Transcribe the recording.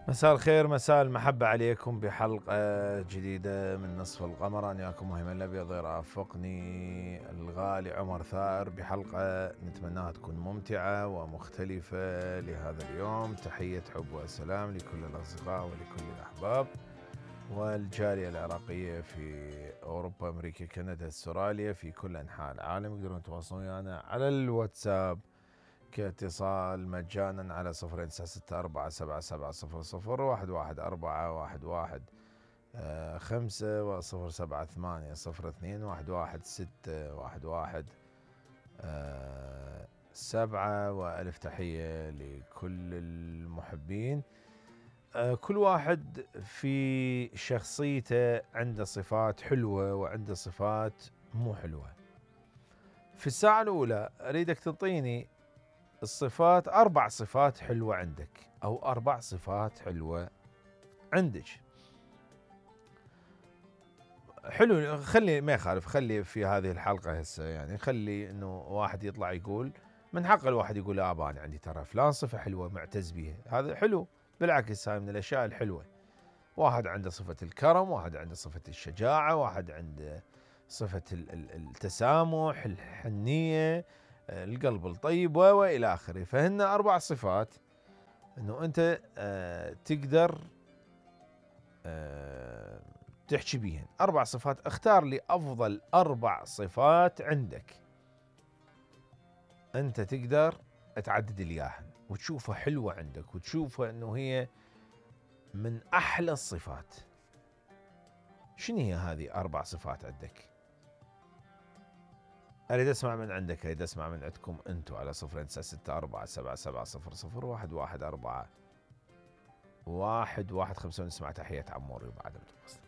مساء الخير، مساء المحبة عليكم بحلقة جديدة من نصف القمر. أنا وياكم مهم الأبيض يرافقني الغالي عمر ثائر بحلقة نتمناها تكون ممتعة ومختلفة لهذا اليوم. تحية حب وسلام لكل الأصدقاء ولكل الأحباب والجالية العراقية في أوروبا، أمريكا، كندا، استراليا، في كل أنحاء العالم. يقدرون يتواصلون ويانا على الواتساب كاتصال مجانا على 096777011411 و078 وألف تحية لكل المحبين. كل واحد في شخصيته عنده صفات حلوة وعنده صفات مو حلوة. في الساعة الأولى أريدك تنطيني الصفات، 4 صفات حلوة عندك أو 4 صفات حلوة عندك. حلو، خلي ما يخالف، خلي في هذه الحلقة هسه يعني خلي إنه واحد يطلع يقول، من حق الواحد يقول أنا عندي ترى فلان صفة حلوة معتز بها، هذا حلو، بالعكس هاي من الأشياء الحلوة. واحد عنده صفة الكرم، واحد عنده صفة الشجاعة، واحد عنده صفة التسامح، الحنية، القلب الطيب وإلى آخره. فهن 4 صفات إنه أنت تقدر تحكي بيهن. 4 صفات، اختار لي أفضل 4 صفات عندك أنت تقدر تعدد الياهن وتشوفها حلوة عندك وتشوفها إنه هي من أحلى الصفات. شنو هي هذه 4 صفات عندك؟ أريد أسمع من عندك، أريد أسمع من عندكم أنتم على 096477001114 ونسمع تحية عموري وبعد الفصل.